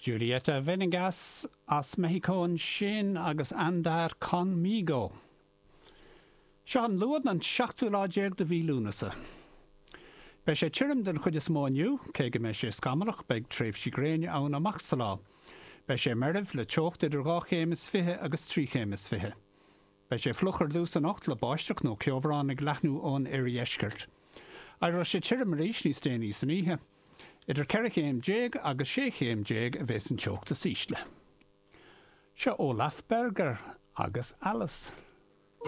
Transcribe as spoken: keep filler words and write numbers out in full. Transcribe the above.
Julieta Venegas as Meicsiceo ansin agus Andar Conmigo. Seo an Luan an seachtú lá déag de mhí Lúnasa. Beidh sé tirim den chuid is mó inniu, cé go mbeidh sé scamallach beidh tréimhsí gréine ann amach sa lá. Beidh sé meirbh le teocht idir dhá chéim is fiche agus trí chéim is fiche. Beidh sé fliuch ar dtús anocht le báisteach nó ceobhrán ag leathnú ón oirdheisceart. Éireoidh sé tirim arís níos déanaí san oíche. Idir ceithre chéim déag agus sé chéim déag a bheas an teocht is ísle. Seo Olaf Berger agus Alice.